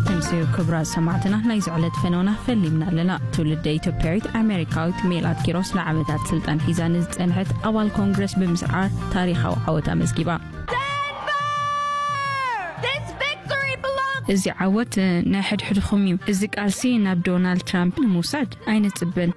ተምስዩ ክብራት ሰማዕትና፣ ናይ ዝዕለት ፈነውና ፈሊምና ኣለና። ትውልደ ኢትዮጵያዊት ኣሜሪካዊት ሜላት ኪሮስ ንዓመታት ስልጣን ሒዛ ንዝጸንሐት ኣባል ኮንግረስ ብምስዓር ታሪኻዊ ዓወት ኣመዝጊባ። This victory belongs እዚ ዓወት ናይ ሕድሕድኹም እዩ። እዚ ቃልሲ ናብ ዶናልድ ትራምፕ ንምውሳድ ኣይንጽበን።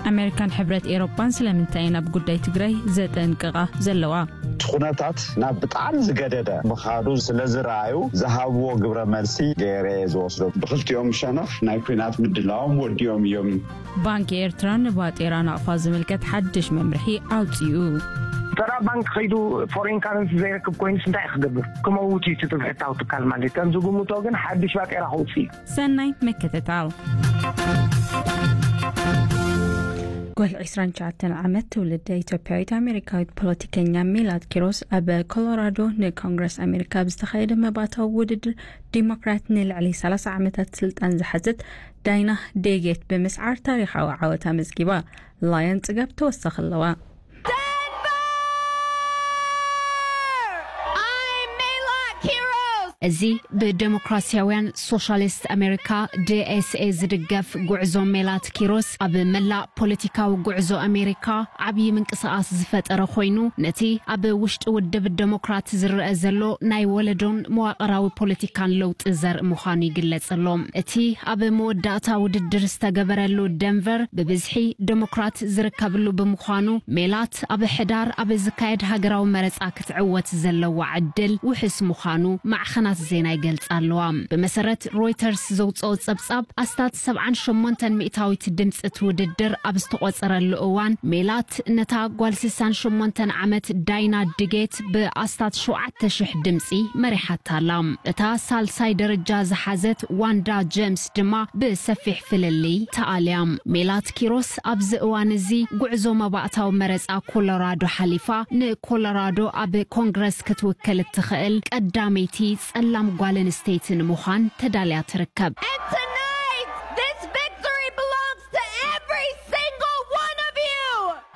ኣሜሪካን ሕብረት ኤሮፓን ስለምንታይ ናብ ጉዳይ ትግራይ ዘጠንቅቓ ዘለዋ? እቲ ኩነታት ናብ ብጣዕሚ ዝገደደ ምኻዱ ስለ ዝረኣዩ ዝሃብዎ ግብረ መልሲ ገይረ እየ ዝወስዶ። ብክልቲኦም ሸነኽ ናይ ኩናት ምድላዎም ወዲኦም እዮም። ባንኪ ኤርትራ ንባጤራ ናቕፋ ዝምልከት ሓድሽ መምርሒ ኣውጺኡ። ተራ ባንክ ከይዱ ፎሬን ካረንሲ ዘይረክብ ኮይኑስ እንታይ ክገብር? ክመውት እዩ እቲ ብሕታዊ ትካል ማለት እዩ። ከም ዝግምቶ ግን ሓድሽ ባጤራ ከውፅእ እዩ። ሰናይ ምክትታል። ጓል ዕስራን ትሽዓተን ዓመት ትውልደ ኢትዮጵያዊት ኣሜሪካዊት ፖለቲከኛ ሜላት ኪሮስ ኣብ ኮሎራዶ ንኮንግረስ ኣሜሪካ ብዝተኻየደ መባእታዊ ውድድር ዲሞክራት ንልዕሊ ሰላሳ ዓመታት ስልጣን ዝሓዘት ዳይና ዴጌት ብምስዓር ታሪኻዊ ዓወት ኣመዝጊባ። ላየን ጽጋብ ተወሳኺ ኣለዋ። I'm Melot Kiros. እዚ ብደሞክራሲያውያን ሶሻሊስት ኣሜሪካ፣ ዲ ኤስ ኤ፣ ዝድገፍ ጉዕዞ ሜላት ኪሮስ ኣብ መላእ ፖለቲካዊ ጉዕዞ ኣሜሪካ ዓብዪ ምንቅስቓስ ዝፈጠረ ኮይኑ፣ ነቲ ኣብ ውሽጢ ውድብ ደሞክራት ዝረአ ዘሎ ናይ ወለዶን መዋቕራዊ ፖለቲካን ለውጢ ዘርኢ ምዃኑ ይግለጽ ኣሎ። እቲ ኣብ መወዳእታ ውድድር ዝተገበረሉ ደንቨር ብብዝሒ ደሞክራት ዝርከብሉ ብምዃኑ፣ ሜላት ኣብ ሕዳር ኣብ ዝካየድ ሃገራዊ መረጻ ክትዕወት ዘለዋ ዕድል ውሑስ ምዃኑ ማዕኸናት ዜና ይገልጻ ኣለዋ። ብመሰረት ሮይተርስ ዘውጽኦ ጸብጻብ፣ ኣስታት ሰብዓን ሸሞንተን ሚእታዊት ድምጺ እቲ ውድድር ኣብ ዝተቖጸረሉ እዋን፣ ሜላት ነታ ጓል ስሳን ሸሞንተን ዓመት ዳይና ድጌት ብኣስታት ሸውዓተ ሽሕ ድምጺ መሪሓታ ኣላ። እታ ሳልሳይ ደረጃ ዝሓዘት ዋንዳ ጀምስ ድማ ብሰፊሕ ፍልልይ ተኣልያ። ሜላት ኪሮስ ኣብዚ እዋን እዚ ጉዕዞ መባእታዊ መረጻ ኮሎራዶ ሓሊፋ፣ ንኮሎራዶ ኣብ ኮንግረስ ክትውክል እትኽእል ቀዳመይቲ ጸላም ጓል ኣንስተይቲ ንምዃን ተዳልያ ትርከብ። And tonight, this victory belongs to every single one of you.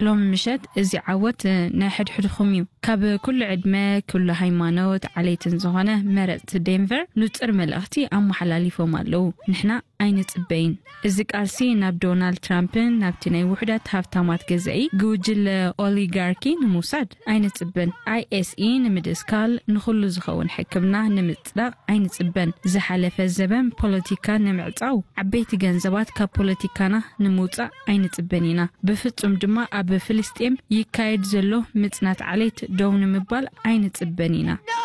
ሎሚ ምሸት እዚ ዓወት ናይ ሕድሕድኹም እዩ። ካብ ኩሉ ዕድመ፣ ኩሉ ሃይማኖት፣ ዓሌትን ዝኾነ መረጽቲ ዴንቨር ንጹር መልእኽቲ ኣመሓላሊፎም ኣለዉ። ንሕና ኣይንጽበይን። እዚ ቃልሲ ናብ ዶናልድ ትራምፕን ናብቲ ናይ ውሑዳት ሃብታማት ገዛኢ ግውጅለ ኦሊጋርኪ ንምውሳድ ኣይንጽበን። ኣይ ኤስ ኢ ንምድስካል፣ ንኹሉ ዝኸውን ሕክምና ንምጽዳቕ ኣይንጽበን። ዝሓለፈ ዘበን ፖለቲካ ንምዕጻው፣ ዓበይቲ ገንዘባት ካብ ፖለቲካና ንምውጻእ ኣይንጽበን ኢና። ብፍጹም ድማ ኣብ ፍልስጤም ይካየድ ዘሎ ምጽናት ዓሌት ደው ንምባል ኣይንጽበን ኢና። No!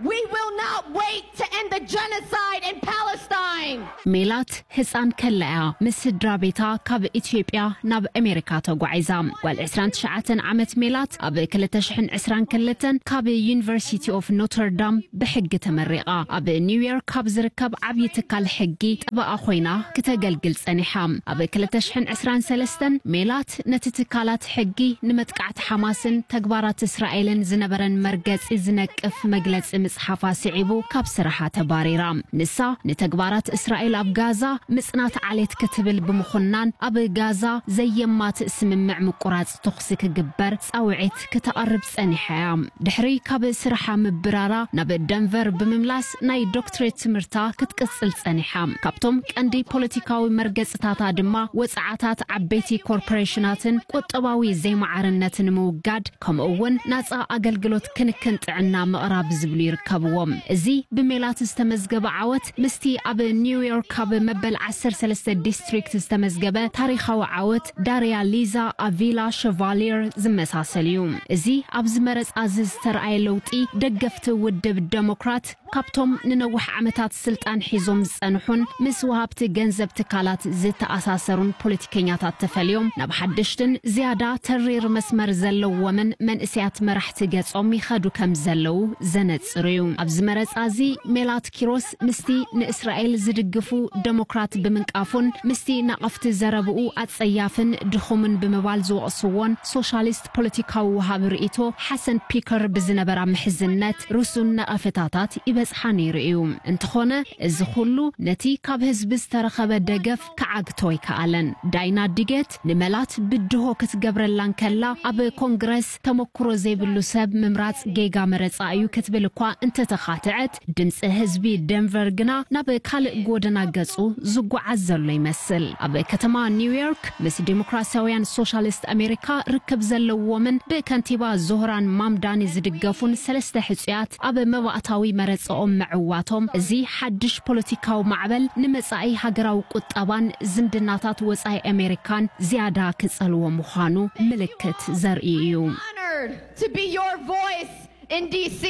We will not wait to end the genocide in Palestine. ሜላት ህፃን ከላ እያ ምስ ስድራ ቤታ ካብ ኢትዮጵያ ናብ ኣሜሪካ ተጓዒዛ። ጓል ዕስራን ትሽዓተን ዓመት ሜላት ኣብ ክልተ ሽሕን ዕስራን ክልተን ካብ ዩኒቨርሲቲ ኦፍ ኖተርዳም ብሕጊ ተመሪቓ። ኣብ ኒውዮርክ ካብ ዝርከብ ዓብዪ ትካል ሕጊ ጠበቓ ኮይና ክተገልግል ጸኒሓ። ኣብ ክልተ ሽሕን ዕስራን ሰለስተን ሜላት ነቲ ትካላት ሕጊ ንመጥቃዕቲ ሓማስን ተግባራት እስራኤልን ዝነበረን መርገጺ ዝነቅፍ መግለጺ ምጽሓፋ ስዒቡ ካብ ስራሓ ተባሪራ። ንሳ ንተግባራት እስራኤል ኣብ ጋዛ ምጽናት ዓሌት ክትብል ብምኹናን ኣብ ጋዛ ዘየማትእ ስምምዕ ምቁራጽ ተኹሲ ክግበር ጻውዒት ክተቕርብ ጸኒሓ እያ። ድሕሪ ካብ ስርሓ ምብራራ ናብ ደንቨር ብምምላስ ናይ ዶክትሬት ትምህርታ ክትቅጽል ጸኒሓ። ካብቶም ቀንዲ ፖለቲካዊ መርገጽታታ ድማ ወጽዓታት ዓበይቲ ኮርፖሬሽናትን ቁጠባዊ ዘይማዕርነትን ምውጋድ፣ ከምኡ እውን ናጻ ኣገልግሎት ክንክን ጥዕና ምቕራብ ዝብሉ ይርከብዎም። እዚ ብሜላት ዝተመዝገበ ዓወት ምስቲ ኣብ ኒውዮርክ ኣብ መበል ዓሰርተ ሰለስተ ዲስትሪክት ዝተመዝገበ ታሪኻዊ ዓወት ዳርያ ሊዛ ኣቪላ ሸቫሊየር ዝመሳሰል እዩ። እዚ ኣብዚ መረጻ እዚ ዝተረኣየ ለውጢ፣ ደገፍቲ ውድብ ደሞክራት ካብቶም ንነዊሕ ዓመታት ስልጣን ሒዞም ዝጸንሑን ምስ ወሃብቲ ገንዘብ ትካላት ዝተኣሳሰሩን ፖለቲከኛታት ተፈልዮም ናብ ሓደሽትን ዝያዳ ተሪር መስመር ዘለዎምን መንእሰያት መራሕቲ ገጾም ይኸዱ ከም ዘለዉ ዘነጽር እዩ። ኣብዚ መረጻ እዚ ሜላት ኪሮስ ምስቲ ንእስራኤል ዝድግፍ ግፉ ደሞክራት ብምንቃፉን ምስቲ ናቕፍቲ ዘረብኡ ኣጸያፍን ድኹምን ብምባል ዝወቕስዎን ሶሻሊስት ፖለቲካዊ ወሃቢ ርእይቶ ሓሰን ፒከር ብዝነበራ ምሕዝነት ርሱን ነቐፌታታት ይበጽሓ ነይሩ እዩ። እንተኾነ፣ እዚ ኩሉ ነቲ ካብ ህዝቢ ዝተረኸበ ደገፍ ክዓግቶ ኣይከኣለን። ዳይና ዲጌት ንመላት ብድሆ ክትገብረላ እንከላ፣ ኣብ ኮንግረስ ተመኩሮ ዘይብሉ ሰብ ምምራጽ ጌጋ መረጻ እዩ ክትብል እኳ እንተተኻትዐት፣ ድምፂ ህዝቢ ደንቨር ግና ናብ ካልእ ጎደና ገጹ ዝጓዓዝ ዘሎ ይመስል። ኣብ ከተማ ኒውዮርክ ምስ ዲሞክራሲያውያን ሶሻሊስት ኣሜሪካ ርክብ ዘለዎምን ብከንቲባ ዞህራን ማምዳኒ ዝድገፉን ሰለስተ ሕጹያት ኣብ መባእታዊ መረጻኦም ምዕዋቶም፣ እዚ ሓድሽ ፖለቲካዊ ማዕበል ንመጻኢ ሃገራዊ ቁጠባን ዝምድናታት ወጻኢ ኣሜሪካን ዝያዳ ክጸልዎ ምዃኑ ምልክት ዘርኢ እዩ። Honored to be your voice in D C.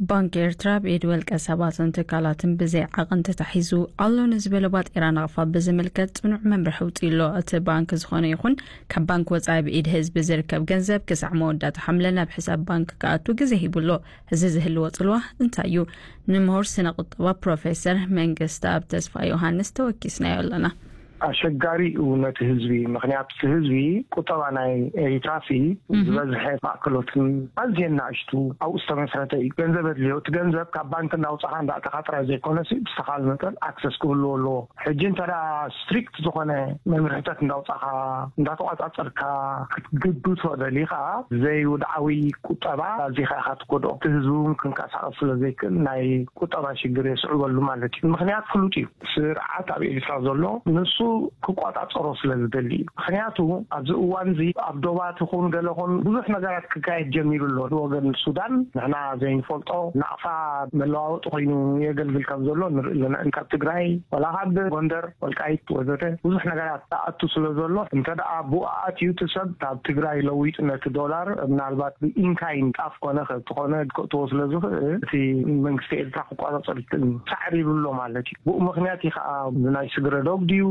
ባንክ ኤርትራ ብኢድ ውልቀ ሰባትን ትካላትን ብዘይ ዓቐን ተታሒዙ ኣሎ ንዝበለ ባጤራ ናቕፋ ብዝምልከት ጽኑዕ መምርሒ ኣውጺኡ ኣሎ። እቲ ባንክ ዝኾነ ይኹን ካብ ባንክ ወጻኢ ብኢድ ህዝቢ ዝርከብ ገንዘብ ክሳዕ መወዳእታ ሓምለ ናብ ሕሳብ ባንክ ክኣቱ ግዜ ሂቡ ኣሎ። እዚ ዝህልዎ ጽልዋ እንታይ እዩ? ንምሁር ስነ ቁጠባ ፕሮፌሰር መንግስተኣብ ተስፋ ዮሃንስ ተወኪስናዮ ኣለና። ኣሸጋሪ እዩ ነቲ ህዝቢ። ምኽንያቱ እቲ ህዝቢ ቁጠባ ናይ ኤሪትራሲ እህ። ዝበዝሐ ማእከሎትን ኣዝየን ናእሽቱ ኣብኡ ዝተመስረተ እዩ። ገንዘብ ኣድልዮ፣ እቲ ገንዘብ ካብ ባንክ እንዳውጻኻ እንዳእተኻ ጥራይ ዘይኮነሲ፣ ብዝተኻለ መጠን ኣክሰስ ክህልዎ ኣለዎ። ሕጂ እንተ ደኣ ስትሪክት ዝኾነ መምርሕታት እንዳውጻኻ፣ እንዳተቋጻጸርካ ክትግብቶ ደሊኻ፣ ዘይውድዓዊ ቁጠባ ኣዚኻ ኢኻ ትጎድኦ። እቲ ህዝቢ እውን ክንቀሳቐስ ስለ ዘይክእል ናይ ቁጠባ ሽግር የስዕበሉ ማለት እዩ። ምኽንያት ፍሉጥ እዩ። ስርዓት ኣብ ኤርትራ ዘሎ ንሱ ክቆጻጸሮ ስለ ዝደሊ እዩ። ምኽንያቱ ኣብዚ እዋን እዚ ኣብ ዶባት ይኹን ገለ ኹን ብዙሕ ነገራት ክካየድ ጀሚሩ ኣሎ። ብወገን ሱዳን ንሕና ዘይንፈልጦ ናቕፋ መለዋወጢ ኮይኑ የገልግል ከም ዘሎ ንርኢ ኣለና። ካብ ትግራይ ዋላ ካብ ጎንደር፣ ወልቃይት ወዘተ ብዙሕ ነገራት ተኣቱ ስለ ዘሎ፣ እንተ ደኣ ብኡ ኣትዩ እቲ ሰብ ካብ ትግራይ ለዊጡ ነቲ ዶላር ምናልባት ብኢንካይን ጣፍ ኮነ ከብቲ ኮነ ክእትዎ ስለ ዝኽእል፣ እቲ መንግስቲ ኤርትራ ክቆጻጸር ይክእል እዩ። ሳዕሪ ይብሎ ማለት እዩ። ብኡ ምኽንያት እዩ ከዓ ብናይ ስግረ ዶብ ድዩ፣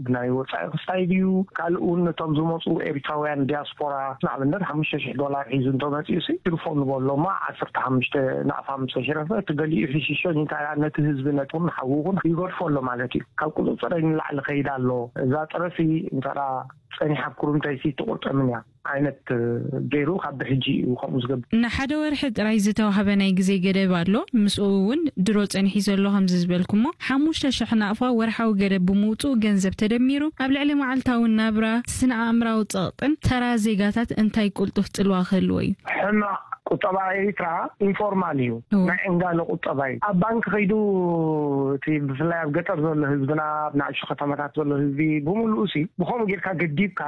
ብናይ ወጻኢ ክስታይ ድዩ፣ ካልእ እውን ነቶም ዝመጹ ኤርትራውያን ዲያስፖራ ንኣብነት ሓሙሽተ ሽሕ ዶላር ሒዙ እንተመጺኡ ሲ ትርፎ ንበሎ እሞ ዓሰርተ ሓሙሽተ ናቕፋ ምስ ተሽረፈ እቲ ገሊኡ ሕሽሾ ኒታ ነቲ ህዝቢ ነቲ ሓዊ እውን ይገድፎ ኣሎ ማለት እዩ። ካብ ቁጽጽረይ ንላዕሊ ከይድ ኣሎ። እዛ ጥረሲ እንተ ደኣ ጸኒሓ ኣብ ኩርምተይሲ ትቑርጠምን እያ ዓይነት ገይሩ ካብ ብሕጂ እዩ ከምኡ ዝገብር። ንሓደ ወርሒ ጥራይ ዝተዋህበ ናይ ግዜ ገደብ ኣሎ። ምስኡ እውን ድሮ ጸኒሑ ዘሎ ከምዚ ዝበልኩሞ ሓሙሽተ ሽሕ ናቕፋ ወርሓዊ ገደብ ብምውጽኡ ገንዘብ ተደሚሩ ኣብ ልዕሊ መዓልታዊ ናብራ ስነ ኣእምራዊ ጸቕጥን ተራ ዜጋታት እንታይ ቁልጡፍ ጽልዋ ክህልዎ እዩ? ሕማቕ ቁጠባ ኤሪትራ ኢንፎርማል እዩ። እዎ። ናይ ዕንጋለ ቁጠባ እዩ። ኣብ ባንክ ከይዱ እቲ ብፍላይ ኣብ ገጠር ዘሎ ህዝብና፣ ኣብ ናእሽቱ ከተማታት ዘሎ ህዝቢ ብምሉኡ ሲ ብኸምኡ ጌርካ ገዲብካ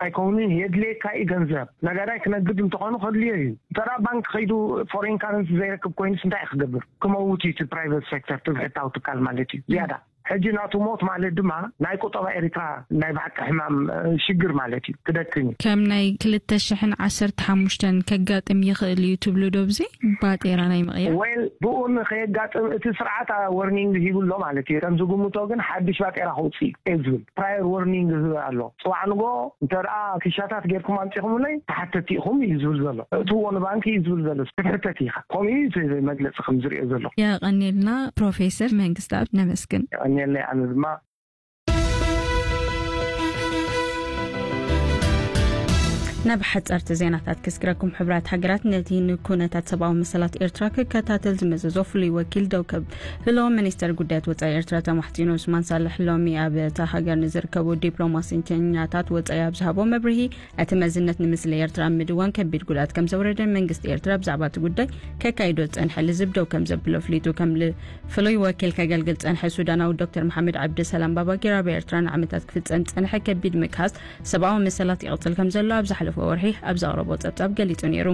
ኣይከውንን። የድልየካ እዩ ገንዘብ። ነጋዳይ ክነግድ እንተኾኑ ከድልዮ እዩ። እንተ ደኣ ባንክ ከይዱ ፎሬን ካረንሲ ዘይረክብ ኮይኑስ እንታይ እዩ ክገብር? ክመውት እዩ እቲ ፕራይቨት ሴክተር፣ እቲ ብሕታዊ ትካል ማለት እዩ። ዝያዳ ሕጂ ናቱ ሞት ማለት ድማ ናይ ቁጠባ ኤሪትራ ናይ ብሓቂ ሕማም፣ እ፣ ሽግር ማለት እዩ። ክደክም እዩ። ከም ናይ ክልተ ሽሕን ዓሰርተ ሓሙሽተን ከጋጥም ይኽእል እዩ ትብሉ ዶ ብዚ ባጤራ ናይ ምቕያር? ዌል፣ ብኡ ንኸየጋጥም እቲ ስርዓት፣ አ፣ ወርኒንግ ሂቡ ኣሎ ማለት እዩ። ከም ዝግምቶ ግን ሓድሽ ባጤራ ከውፅእ እዩ ዝብል ፕራየር ወርኒንግ ዝህብ ኣሎ። ጽባሕ ንጎ እንተ ደኣ ክሻታት ጌርኩም ኣምጺኹምለይ ተሓተቲ ኢኹም እዩ ዝብል ዘሎ። እትዎ ንባንክ እዩ ዝብል ዘሎ። ክትሕተት ኢኻ። ከምኡ እዩ እቲ መግለጺ ከም ዝሪኦ ዘሎ። የቐንየልና ፕሮፌሰር መንግስተኣብ ነመስግን። የቐንየለይ ኣነ ድማ። ናብ ሓጸርቲ ዜናታት ክስግረኩም። ሕቡራት ሃገራት ነቲ ንኩነታት ሰብኣዊ መሰላት ኤርትራ ክከታተል ዝመዘዞ ፍሉይ ወኪል ደው ከብሎ ሚኒስተር ጉዳያት ወጻኢ ኤርትራ ተማሕጺኑ። ዑስማን ሳልሕ ሎሚ ኣብ እታ ሃገር ንዝርከቡ ዲፕሎማሲተኛታት ወጻኢ ኣብ ዝሃቦ መብርሂ፣ እቲ መዝነት ንምስሊ ኤርትራ ኣብ ምድዋን ከቢድ ጉድኣት ከም ዘውረደ መንግስቲ ኤርትራ ብዛዕባ እቲ ጉዳይ ከካይዶ ዝጸንሐ ልዝብ ደው ከም ዘብሎ ኣፍሊጡ። ከም ል-፣ ፍሉይ ወኪል ከገልግል ዝጸንሐ ሱዳናዊ ዶክተር መሓመድ ዓብደሰላም ባባጊር ኣብ ኤርትራ ንዓመታት ክፍጸም ዝጸንሐ ከቢድ ምግሃስ ሰብኣዊ መሰላት ይቕጽል ከም ዘሎ ኣብ ዝሓለፈ ወርሒ ኣብ ዘቕረቦ ጸብጻብ ገሊጹ ነይሩ።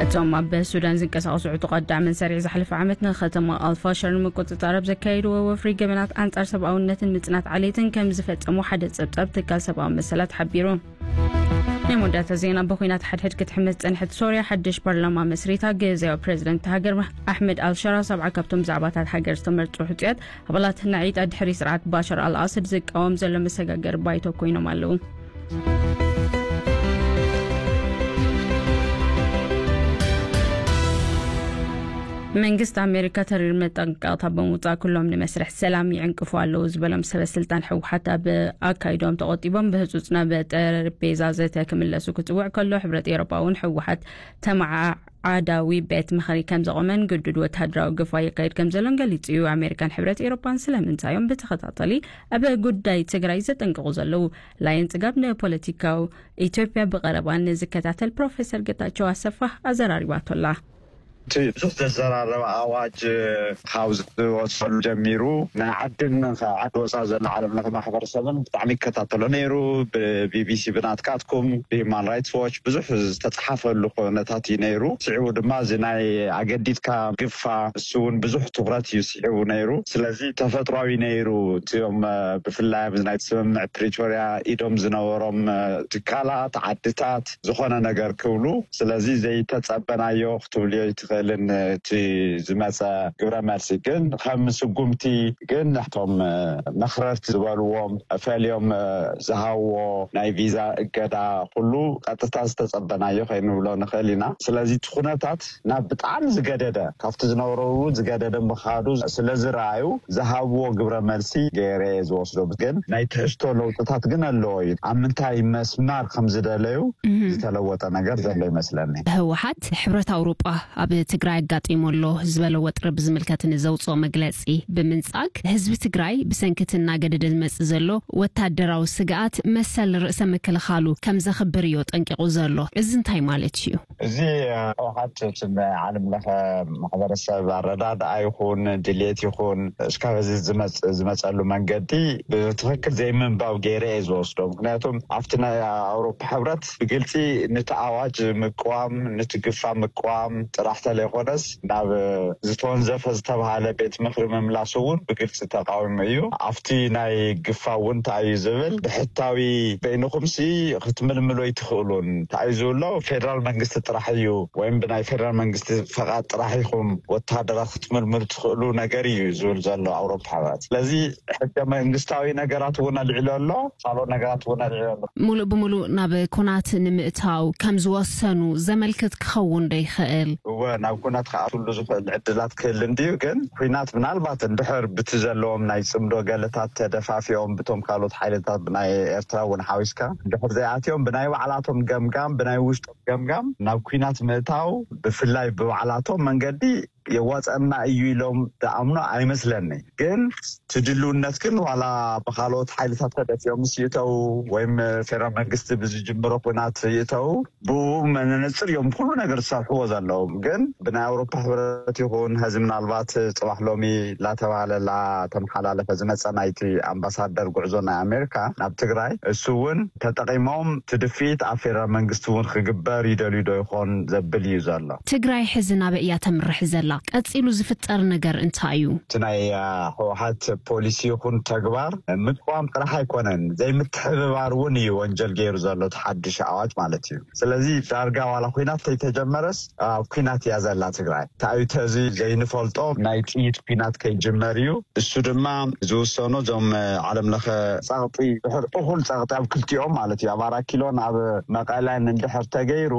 እቶም ኣብ ሱዳን ዝንቀሳቐሱ ዕጡቓት ዳዕመን ሰሪዕ ዝሓለፈ ዓመት ንከተማ ኣልፋሸር ንምቁጽጻር ኣብ ዘካየድዎ ወፍሪ ገበናት ኣንጻር ሰብኣውነትን ምጽናት ዓሌትን ከም ዝፈጸሙ ሓደ ጸብጻብ ትካል ሰብኣዊ መሰላት ሓቢሩ። ናይ መወዳእታ ዜና፣ ብኹናት ሓድሕድ ክትሕመስ ዝጸንሐት ሶርያ ሓድሽ ፓርላማ መስሪታ። ግዝያዊ ፕረዚደንት ሃገር ኣሕመድ ኣልሸራ ሰብዓ ካብቶም ብዛዕባታት ሃገር ዝተመርጹ ሕጹያት ኣባላት ናዒጣ ድሕሪ ስርዓት ባሻር ኣልኣሰድ ዝቃወም ዘሎ መሰጋገሪ ባይቶ ኮይኖም ኣለዉ። መንግስቲ ኣሜሪካ ተሪር መጠንቀቕታ ብምውፃእ፣ ኩሎም ንመስርሕ ሰላም ይዕንቅፉ ኣለዉ ዝበሎም ሰበ ስልጣን ህወሓት ኣብ ኣካይዶም ተቖጢቦም፣ ብህፁፅ ናብ ጠረጴዛ ዘተ ክምለሱ ክፅውዕ ከሎ፣ ሕብረት ኤውሮጳ እውን ህወሓት ተመዓዓዳዊ ቤት ምኽሪ ከም ዘቖመን ግዱድ ወተሃደራዊ ግፋ የካይድ ከም ዘሎን ገሊጹ እዩ። ኣሜሪካን ሕብረት ኤውሮጳን ስለምንታይ እዮም ብተኸታታሊ ኣብ ጉዳይ ትግራይ ዘጠንቅቑ ዘለዉ? ላይን ጽጋብ ንፖለቲካዊ ኢትዮጵያ ብቐረባ ንዝከታተል ፕሮፌሰር ጌታቸው ኣሰፋ ኣዘራሪባቶላ። እቲ ብዙሕ ዘዘራረበ ኣዋጅ ካብ ዝወፀሉ ጀሚሩ፣ ናይ ዓድን ካብ ዓዲ ወፃ ዘሎ ዓለም ለኸ ማሕበረሰብን ብጣዕሚ ይከታተሎ ነይሩ። ብቢቢሲ፣ ብናትካትኩም፣ ብሂማን ራይትስ ዎች ብዙሕ ዝተፅሓፈሉ ኩነታት እዩ ነይሩ። ስዒቡ ድማ እዚ ናይ ኣገዲድካ ግፋ፣ እሱ እውን ብዙሕ ትኩረት እዩ ስዒቡ ነይሩ። ስለዚ ተፈጥሯዊ ነይሩ። እቲኦም ብፍላይ ኣብዚ ናይ ስምምዕ ፕሪቶርያ ኢዶም ዝነበሮም ትካላት፣ ዓድታት ዝኾነ ነገር ክብሉ፣ ስለዚ ዘይተጸበናዮ ክትብልዮ ኣይትኽእልን እቲ ዝመጸ ግብረ መልሲ። ግን ከም ስጉምቲ ግን እቶም መኽረርቲ ዝበልዎም ፈልዮም ዝሃብዎ ናይ ቪዛ እገዳ ኩሉ ቀጥታ ዝተጸበናዮ ከይንብሎ ንኽእል ኢና። ስለዚ እቲ ኩነታት ናብ ብጣዕሚ ዝገደደ፣ ካብቲ ዝነበረው ዝገደደ ምኻዱ ስለ ዝረኣዩ ዝሃብዎ ግብረ መልሲ ገይረ እየ ዝወስዶ። ግን ናይ ትሕዝቶ ለውጥታት ግን ኣለዎ እዩ። ኣብ ምንታይ መስማር ከም ዝደለዩ ዝተለወጠ ነገር ዘሎ ይመስለኒ። ህወሓት ሕብረት ኣውሮጳ ኣብ ትግራይ ኣጋጢሞ ኣሎ ዝበለ ወጥሪ ብዝምልከት ንዘውፅኦ መግለፂ ብምንፃግ፣ ህዝቢ ትግራይ ብሰንኪ እቲ እናገደደ ዝመፅእ ዘሎ ወታደራዊ ስግኣት መሰል ርእሰ ምክልኻሉ ከም ዘኽብር እዩ ጠንቂቑ ዘሎ። እዚ እንታይ ማለት እዩ? እዚ ህወሓት እቲ ናይ ዓለም ለኸ ማሕበረሰብ ኣረዳድኣ ይኹን ድሌት ይኹን እስካብ እዚ ዝመፅ- ዝመፀሉ መንገዲ ብትኽክል ዘይምንባብ ገይረ እየ ዝወስዶ። ምክንያቱም ኣብቲ ናይ ኣውሮፓ ሕብረት ብግልፂ ነቲ ኣዋጅ ምቅዋም፣ ነቲ ግፋ ምቅዋም ጥራሕ ተለይኮነስ ናብ ዝተወንዘፈ ዝተባሃለ ቤት ምኽሪ ምምላስ እውን ብግልፂ ተቃዊሙ እዩ። ኣብቲ ናይ ግፋ እውን እንታይ እዩ ዝብል ብሕታዊ በይንኹምሲ ክትምልምሉ ኣይትኽእሉን። እንታይ እዩ ዝብሎ? ፌደራል መንግስቲ ጥራሕ እዩ ወይም ብናይ ፌደራል መንግስቲ ፈቓድ ጥራሕ ኢኹም ወተሃደራት ክትምልምሉ ትኽእሉ ነገር እዩ ዝብል ዘሎ ኣውሮፓ ሕብረት። ስለዚ ሕገ መንግስታዊ ነገራት እውን ኣልዒሉ ኣሎ፣ ካልኦት ነገራት እውን ኣልዒሉ ኣሎ። ሙሉእ ብሙሉእ ናብ ኩናት ንምእታው ከም ዝወሰኑ ዘመልክት ክኸውን ዶ ይኽእል? እወ፣ ናብ ኩናት ክኣትውሉ ዝኽእል ዕድላት ክህል እንድዩ። ግን ኩናት ምናልባት እንድሕር ብቲ ዘለዎም ናይ ጽምዶ ገለታት ተደፋፊኦም ብቶም ካልኦት ሓይልታት ብናይ ኤርትራ እውን ሓዊስካ እንድሕር ዘይኣትዮም ብናይ ባዕላቶም ገምጋም፣ ብናይ ውሽጦም ገምጋም ናብ ኩናት ምእታው ብፍላይ ብባዕላቶም መንገዲ የዋፀና እዩ ኢሎም ዝኣምኑ ኣይመስለኒ። ግን ትድልውነት ግን ዋላ ብካልኦት ሓይልታት ተደፊኦም ምስ ይእተው ወይም ፌደራል መንግስቲ ብዝጅምሮ ኩናት ይእተው ብኡ መነፅር እዮም ኩሉ ነገር ዝሰርሕዎ ዘለዎም። ግን ብናይ ኣውሮፓ ሕብረት ይኹን ሕዚ ምናልባት ፅባሕ ሎሚ ላተባሃለላ ተመሓላለፈ ዝመፀ ናይቲ ኣምባሳደር ጉዕዞ ናይ ኣሜሪካ ናብ ትግራይ እሱ እውን ተጠቂሞም ትድፊት ኣብ ፌደራል መንግስቲ እውን ክግበር ይደልዩ ዶ ይኾን ዘብል እዩ ዘሎ። ትግራይ ሕዚ ናበይ እያ ተምርሕ ዘላ? ቀፂሉ ዝፍጠር ነገር እንታይ እዩ? እቲ ናይ ህወሓት ፖሊሲ ይኹን ተግባር ምቅዋም ጥራሕ ኣይኮነን፣ ዘይምትሕብባር እውን እዩ ወንጀል ገይሩ ዘሎ እቲ ሓድሽ ኣዋጅ ማለት እዩ። ስለዚ ዳርጋ ዋላ ኩናት ተይተጀመረስ ኣብ ኩናት እያ ዘላ ትግራይ። እንታይ እዩ ተዚ ዘይንፈልጦ ናይ ጥይት ኩናት ከይጅመር እዩ። እሱ ድማ ዝውሰኑ እዞም ዓለም ለኸ ጸቕጢ ድሕር እኹል ጸቕጢ ኣብ ክልቲኦም ማለት እዩ ኣብ ኣራት ኪሎን ኣብ መቐለን እንድሕር ተገይሩ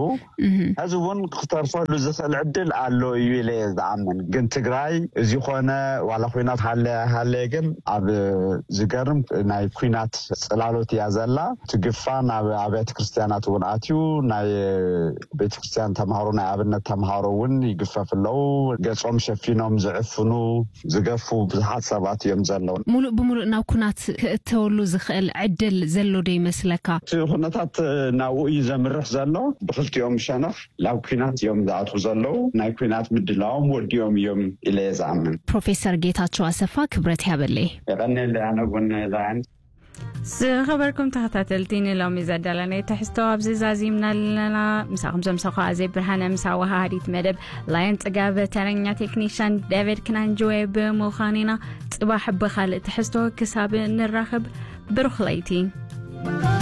ሕዚ እውን ክተርፈሉ ዝኽእል ዕድል ኣሎ እዩ ኢለ እየ ዝኣምን። ግን ትግራይ እዚ ኾነ ዋላ ኮይና ሃለ ሃለ ግን ኣብ ዝገርም ናይ ኩናት ጽላሎት እያ ዘላ። ትግፋ ናብ ኣብያተ ክርስቲያናት እውን ኣትዩ ናይ ቤተ ክርስቲያን ተምሃሮ ናይ ኣብነት ተምሃሮ እውን ይግፈፍ ኣለዉ። ገጾም ሸፊኖም ዝዕፍኑ ዝገፉ ብዙሓት ሰባት እዮም ዘለዉ። ሙሉእ ብሙሉእ ናብ ኩናት ክእተወሉ ዝኽእል ዕድል ዘሎ ዶ ይመስለካ? እቲ ኩነታት ናብኡ እዩ ዘምርሕ ዘሎ። ብክልቲኦም ሸነኽ ናብ ኩናት እዮም ዝኣትዉ ዘለዉ። ናይ ኩናት ምድላዎም ወዲኦም እዮም ኢለ እየ ዝኣምን። ፕሮፌሰር ጌታቸው ኣሰፋ ክብረት ያበለይ። የቐንየለይ ኣነ እውን ላይን። ዝኸበርኩም ተኸታተልቲ ንሎሚ ዘዳለናዮ ትሕዝቶ ኣብዚ ዛዚምና ኣለና። ምሳኹም ዘምሰኹ ኣዜ ብርሃነ ምስ ኣወሃሃዲት መደብ ላይን ጽጋብ ተረኛ ቴክኒሻን ዴቪድ ክናንጅዌ ብምዃን ኢና። ጽባሕ ብኻልእ ትሕዝቶ ክሳብ ንራኸብ ብሩኽ ለይቲ።